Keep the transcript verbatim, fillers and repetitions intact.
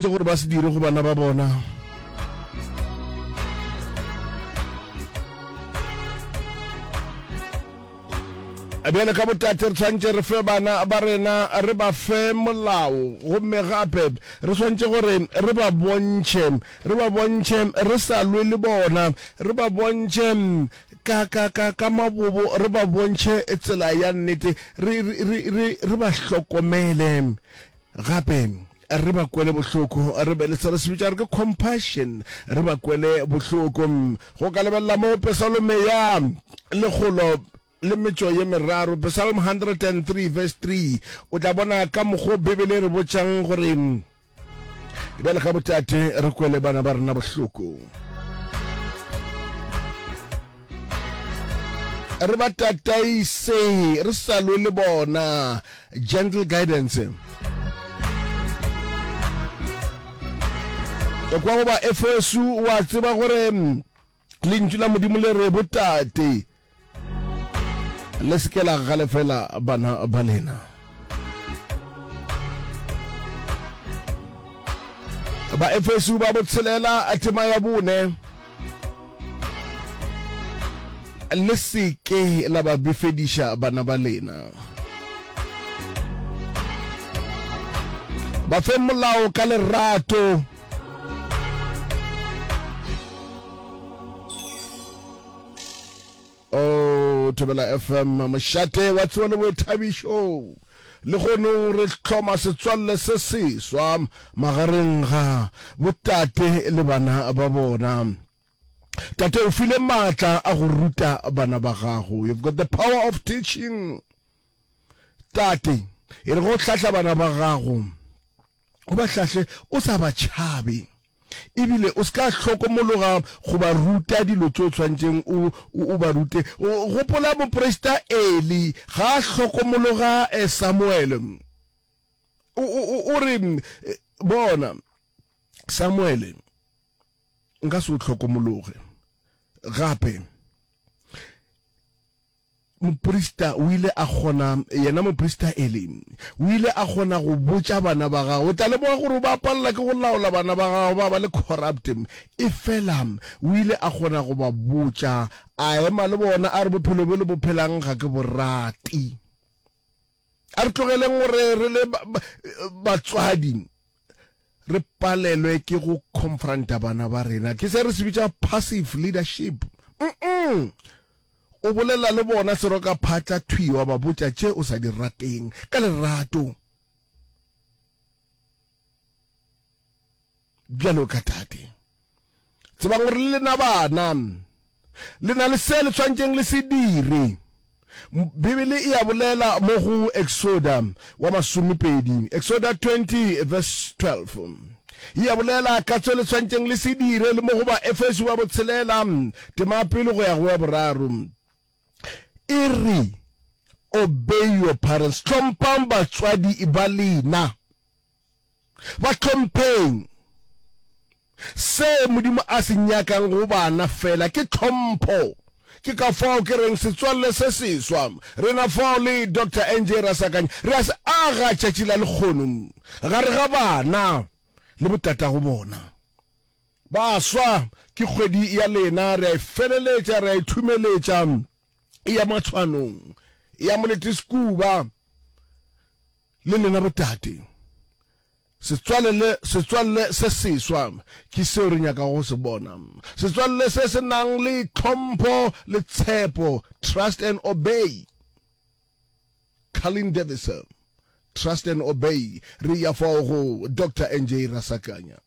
Gore ba se dire go bana ba bona. Bjale ka botate re tshwanetse re fe bana ba rena, re ba fe molao, gomme gape re tshwanetse gore re ba bontšhe, re ba bontšhe re sa lwe le bona, re ba bontšhe ka, ka, ka, ka mabobo, re ba bontšhe tsela ya nnete, re, re, re, re, re ba hlokomele. Gape re ba kwele bohloko, re be le se re se bitša re ke compassion, re ba kwele bohloko. Go ka lebelela mo Pesalome ya lekgolo le metšo ye meraro, Psalm one hundred and three verse three, o tla bona ka mokgo Bibele e re botšang gore bjale ka botate re kwele bana ba rena bohloko, re ba tataise re sa lwe le bona, gentle guidance. Kwa go ba Efesu, wa tseba gore lentšu la Modimo le re botate le se ke la galefela bana ba lena. Ba Efesu ba botshelela tema ya bone, le se ke la ba befediša bana ba lena, ba fe molao ka lerato. O Thobela F M, mošate wa tsebo le boithabišo. Le kgonong re hloma setswalle se seswa magareng ga botate le bana ba bona. Tate, o file maatla a go ruta bana ba gago. You've got the power of teaching. Tate, e re go hlahla bana ba gago, o ba hlahle o sa ba tšhabe, ebile o se ka hlokomologa go ba ruta dilo tse o tshwanetseng o o ba rute. Gopola moprista Eli ga a hlokomologa Samuel, o re, "Bona Samuel, nka se o hlokomologe gape." Moprista o ile a kgona, yena moprista Eli, o ile a kgona go botša bana ba gagwe. O tla lemoga gore o ba palela ke go laola bana ba gagwe, ba ba le corrupt. Efela o ile a kgona go ba botša, a ema le bona, a re, "Bophelo bjo le bo phelang ga ke bo rate." A re tlogeleng gore re le batswadi re palelwe ke go confronta bana ba rena. Ke se re se bitša passive leadership. Mm o bolela le bona seroka phatla thwi, wa ba botša tše o sa di rateng ka lerato bjalo ka tate. Tsebang gore le lena bana le na le se le tshwanetseng le se dire. Bibele e a bolela mo go Exoda wa masomepedi, Exoda twenty verse twelve, e a bolela ka tse le tshwanetseng le se dire, le mo go ba Efeso ba botshelela tema pele go ya go ya boraro, e re, "Obey your parents," hlomphang batswadi ba lena, ba hlompheng. Se Modimo a se nyakang go bana fela ke tlhompho. Ke ka fao ke reng setswalle se seswa rena fao le Doctor N J Rasakanya re a se aga tšatši la lekgono gare ga bana le botatago bona. Baswa, ke kgwedi ya lena, re a e feleletša, re a e thumeletša, e ya matshwanong, e ya molete sekuba. Le lena botate, setswalle setswalle se seswa ke seo re nyakago go se bona, setswalle se se nang le tlhompho le tshepo. Trust and obey, Carlin Davis, trust and obey. Re ya fao go Doctor N J Rasakanya.